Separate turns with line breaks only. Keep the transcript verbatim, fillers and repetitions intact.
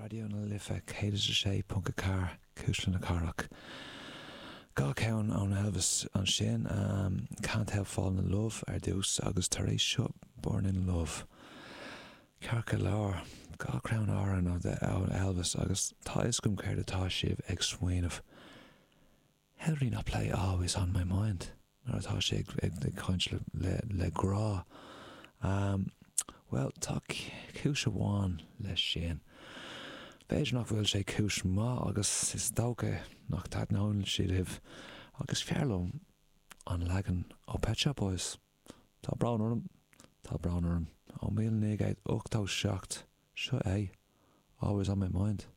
Raidió na Life céad is a sé ponc a ceathair, Cuisle na Cathrach. Dhá cheann ón Elvis ansin, Can't Help Falling in Love ar dtús agus tar éis seo Burning in Love. Ceart go leor, dhá cheann amhrán ó Elvis agus tá fhios agam céard atá sibh ag smaoineamh. How did he not play Always on My Mind? Nuair atá sé ag caint le, le grá. Um, well, tá cúis amháin leis sin. B'fhéidir nach bhfuil sé cúis maith agus is dócha nach dtaitneoidh sé libh agus fearr liom an leagan ó Pet Shop Boys. Tá brón orm, tá brón orm ó míle naoi gcéad ochtó seacht seo é, Always on My Mind.